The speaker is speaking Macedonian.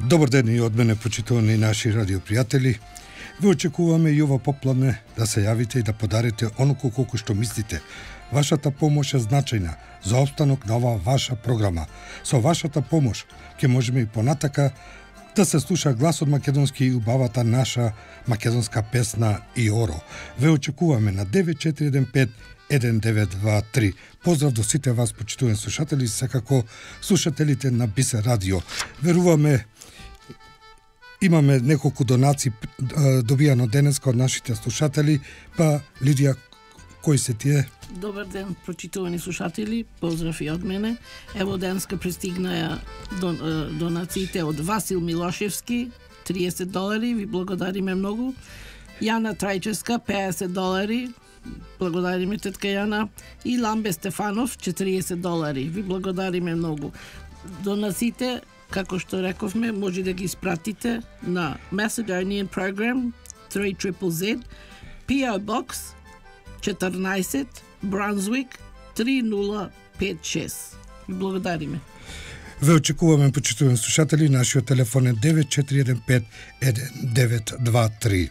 Добар ден и од мене, почитувани наши радиопријатели. Ве очекуваме и ова попладне да се јавите и да подарите оноку колку што мислите. Вашата помош е значајна за опстанок на оваа ваша програма. Со вашата помош ќе можеме и понатака да се слуша гласот македонски и убавата наша македонска песна и оро. Ве очекуваме на 9415 1923. Поздрав до сите вас, почитувани слушатели, секако слушателите на Бисер радио. Веруваме, имаме неколку донации добијано денеска од нашите слушатели, па Лидија, кои се тие? Добар ден, прочитувани слушатели, поздрав и од мене. Ево денеска пристигнаја донациите од Васил Милошевски, $30, ви благодариме многу. Јана Трајческа, $50, благодариме тетка Јана. И Ламбе Стефанов, $40, ви благодариме многу. Донациите, како што рековме, може да ги испратите на Macedonian Program 3ZZZ, PO Box 14, Brunswick 3056. Ви благодариме. Ве очекуваме, почитувани слушатели, нашиот телефон е 9415 1923.